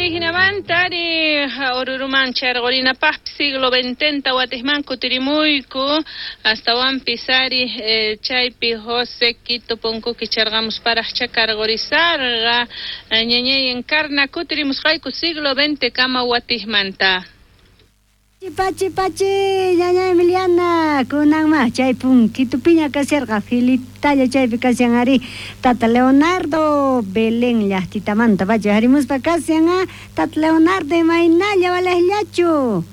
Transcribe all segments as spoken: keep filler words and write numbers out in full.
Hinamantari Oruruman charqurinapaqpis siglo veintenta watijman kutirimuyku astawanpis ari eh, chaypi José Quito punkuki charqamusparaqcha karqurisarqa ñañay Encarna kutirimusqayku siglo veinte kama watijmanta. Pachi pachi ñaña Emiliana kunanma chay punquitupiña kasharqa filitalla chaypi kashan ari tata Leonardo Belén llaqtitamanta pachi harimuspa kashan a tata Leonardo imaynalla walejllachu.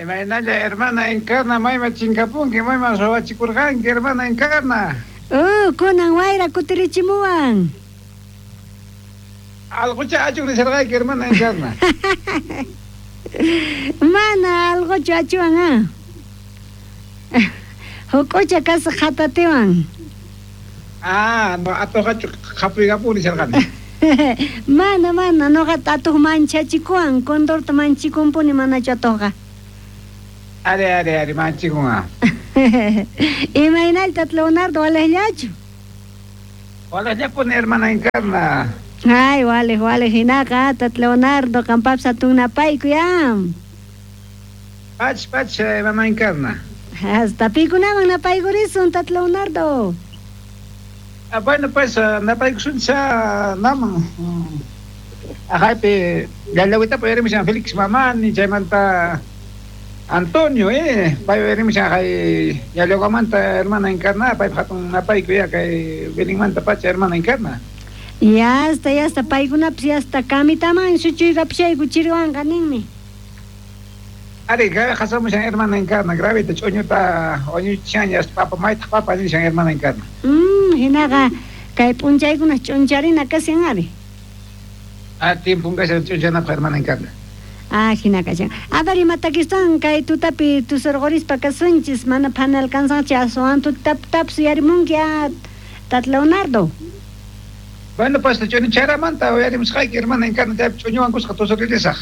Imaynalla hermana Encarna mayma chinkapunki mayma suwachikurqanki hermana Encarna. Oh, kunan wayra kutirichimuwan. Alqucha achuk nisharqayki hermana Encarna. Mana algochu achuan ah. Huk'ucha kasaq qhatatiwan. Ah, no atuqachu qhapuykapuni nisharqani. Mana mana noqata atuq manchachikuwan condorta manchikunpuni manachu atuqqa. Ari ari ari manchikun ah. Imaynalta tata Leonardo walejllachu. Walejllapuni hermana Encarna. Ay, walej walej hinaqa tata Leonardo qampapis hatun napayku ya. Pach pach hermana Encarna. Hasta pikunaman napaykurisun tata Leonardo. Ah, bueno pues napaykusuncha naman. Ajaypi llallawitapi uyarimushan Félix Mamani chaymanta Antonio eh pay uyarimushan ajay llallawamanta hermana Encarna paypa hatun napayku ya kay Belenmanta pacha hermana Encarna. Ya está, ya está, paykunapis ya está kamitaman suchuykapishayku chiriwanqa ninmi. Ari, qasamushan hermana Encarna, gravita ch'uñuta wañuchishan ya papa maytaq papa nishan hermana Encarna. Mm, hinaqa kay p'unchaykuna ch'uncharina kashan ari. Ah, tiempon kashan ch'unchanapaq hermana Encarna. Ah, hina kashan. A ver, imatakistan kay tutapi tusurqurispa kasunchis mana phana alcanzanchik aswan tutaptapis uyarimunki ah, tata Leonardo. Bueno, pues ch'uñucharamanta uyarimusqayki hermana Encarna chaypi ch'uñuwan kusqa tusuririsaq.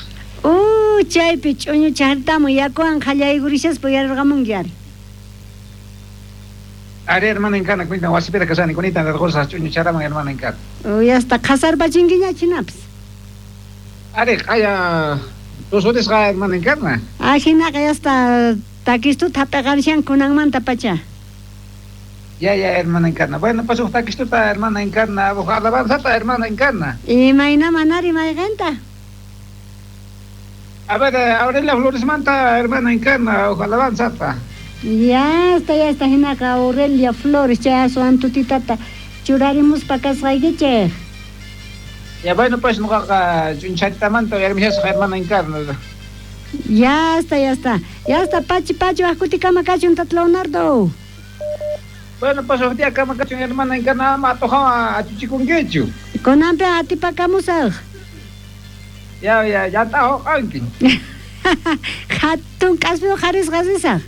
Uh, chaypi ch'uñuchartamu yakuwan qallaykurishaspa uyarirqamunki ari. Ari hermana Encarna kunitan wasipira kasani kunitan rirqusaq ch'uñucharaman hermana Encarna. Uyasta qhasarpachinkiña chinapis. Ari qaya tusurisqa hermana Encarna. Ah, hinaqa yasta takistuta hap'iqarishan kunanmanta pacha. Ya, ya, hermana Encarna. Bueno, pues huk takistuta hermana Encarna, huk alabanzata hermana Encarna. Imaynaman ari mayqinta? A ver, Aurelia Floresmanta, hermana Encarna, huk alabanzata. Ya está, ya está, hinaqa Aurelia Flores, chay aswan tutitata churarimuspa kasqaykichik. Ya, bueno, pues nuqaqa ch'uncharitamanta uyarimushasaq hermana Encarna. Ya está, ya está. Ya está, pachi pachi waqkutikama kachun tata Leonardo. Bueno, pues huk día kama kachun hermana Encarna ama atuqawan achuchikunkichu. Kunanpi atipakamusaq. Ya, ya, ya t'ahuqanki. Hatun k'aspi uqharisqa risaq.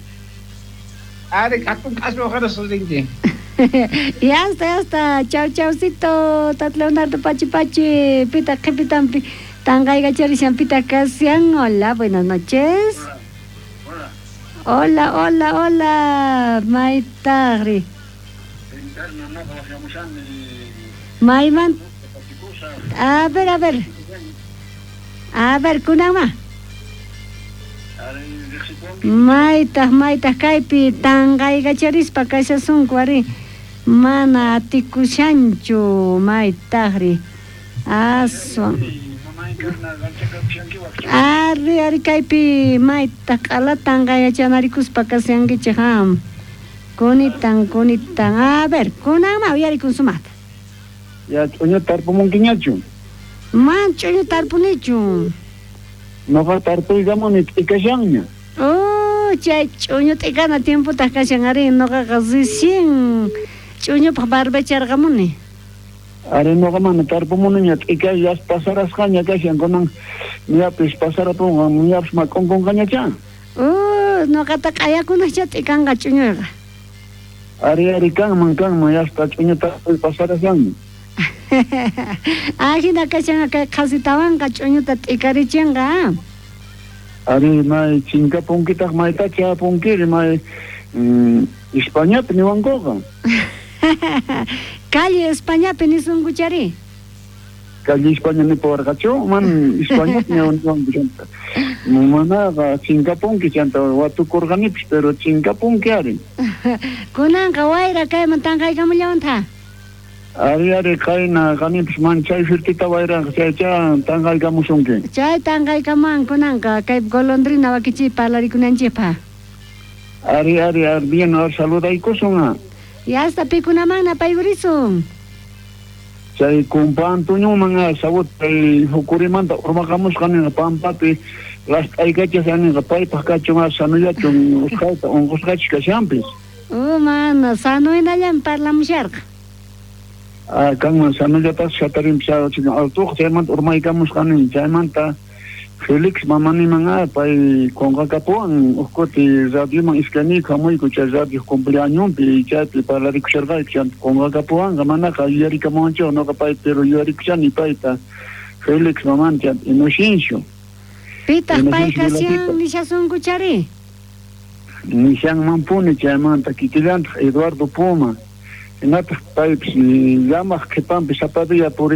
Ari, hatun k'aspi uqharisqa rinki. Ya está, ya está. Chau, chaucito, tata Leonardo pachi pachi. Pita qhipitampi tanqaykacharishan pita kashan. Hola, buenas noches. Hola. Hola, hola, hola. Maytaqri. Mayman. A ver, a ver. A ver, kunanma. Maytaq, maytaq kaypi tanqaykacharispa kashasunku ari. Mana atikushanchu maytaqri. Aswan. Ari, ari kaypi maytaq q'ala tanqayachanarikuspa kashankichik ham. Kunitan, kunitan. A ver, kunanma uyarikun sumaqta. Ya ch'uñu tarpumunkiñachu. Man ch'uñu tarpunichu. Noqa tarpuykamuni t'ikashanña. Oh, chay ch'uñu t'ikana tiempotaq kashan ari noqaqa recién ch'uñupaq barbecharqamuni. Ari noqa mana tarpumuniña t'ikash yas pasarasqaña kashan kunan ñapis pasarapunqa ñapis mak'unkunqañachá. Oh, noqata q'ayakunaqcha t'ikanqa ch'uñuyqa. Ari ari kanman kanman yasta ch'uñu tarpuy pasarashanña. Ah, hina kashan kay qhasitawanqa ch'uñuta t'ikarichinqa. Ari may chinkapunkitaq maytacha punkiri may mm, Españapi niwankuqa. Calle Españapi nisunkuchari. Calle España nipawarqachu man España chanta manaqa chinkapunki chanta watukurqanipis pero chinkapunki ari. Kunanqa wayra kayman tanqaykamullawantha. Ari ari qayna qanipis man chay firtita wayraqa chaycha tanqaykamusunki. Chay tanqaykamuwan kunanqa kay golondrina wakichi parlarikunanchikpaq. Ari ari ari bien ar saludaykusun. Y hasta pikunaman napaykurisun. Chay kumpa Antonioman sawut chay hukurimanta urmaqamusqa ninqa pampapi last'aykachas ninqa paypaq kachun sanullachun usqhayta unqusqachus kashanpis. Oh, mana sanuynallan parlamusharqa. Ah, kanman sanullatas hatarinpis altuqa chaymanta urmaykamusqa nin chaymanta Felix mamaniman ah, pay qunqakapuwan uj kuti radioman iskayniyku hamuyku chay radio cumpleañonpi chaypi parlarikusharqayku chanta qunqakapuwanqa manaqa yuyarikamuwanchik noqa pay pero yuyarikushani payta Felix mamani chanta Inocencio. Pitaq pay kashan nishasunkuchari? Nishanmanpuni chaymanta kikillantaq Eduardo Puma hinataq paypis llamaq qhipanpi sapa día puri